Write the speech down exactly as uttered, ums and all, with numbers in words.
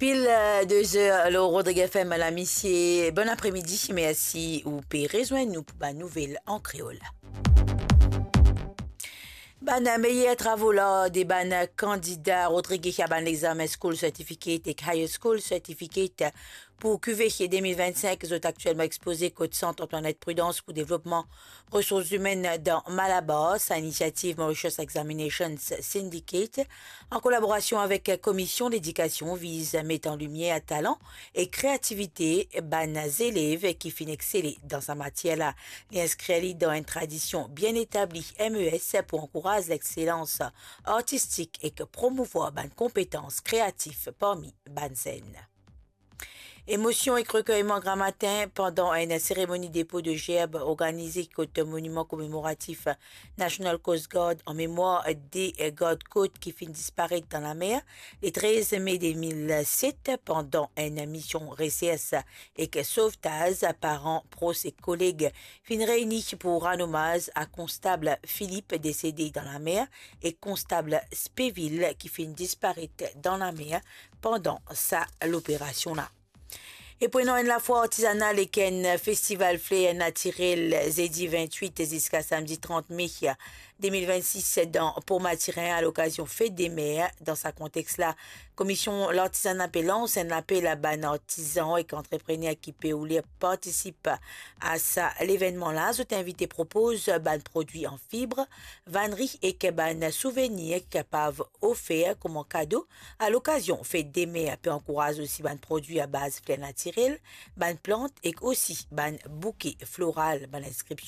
Pil, euh, de zer lor Rodrig F M, lamisie. Bon apremidi, mersi ou pe rezwenn nou pou bann nouvel an kreol. Bann meyer travo lar de bann kandida Rodrig a bann lexamen School Certificate ek Higher School Certificate pou kive de mil vinn-sink, zot aktielman expoze kot Sant Antoinette Prudence pou devlopman resours imenn dan Malabar. Sa inisiativ Mauritius Examinations Syndicate, an kolaborasion avek Komision Ledikasion, viz met an limier talan e kreativite bann zelev ki finn exsele dan sa matier la. Li inskrir li dan enn tradision bien etabli M E S pou ankouraz lexselans artistik ek promouvwar bann konpetans kreatif parmi bann zenn. Emosion ek rekerman gramatin pandan enn seremoni depo de zerb organize kot Moniman Komemoratif National Coast Guard an memwar de gard kot ki finn disparet dan lamer le trez me de mil set pandan enn mision resers ek sovtaz. Paran, pros ek koleg finn reyni pou rann omaz a Konstab Philippe, desede dan lamer, e Konstab Speville, ki finn disparet dan lamer pandan sa loperasion la. E pou ena enn lafwa artizanal ek enn festival fler natirel zedi vinn-wit ziska samdi trant me de mil vinn-sis dan Port Mathurin, a lokazion Fete de Mer. Dan sa kontex la, Komision Lartizana pe lans enn lapel a bann artizan ek antreprener ki pe oule partisip a sa levennman la. Zot invite propoz bann prodwi an fib, vanri ek bann souvenir ki kapav ofer kouma kado a lokazion Fete de Mer. Pe ankouraz osi bann prodwi a baz fler natirel, bann plant ek osi bann bouke floral. Bann inskripsion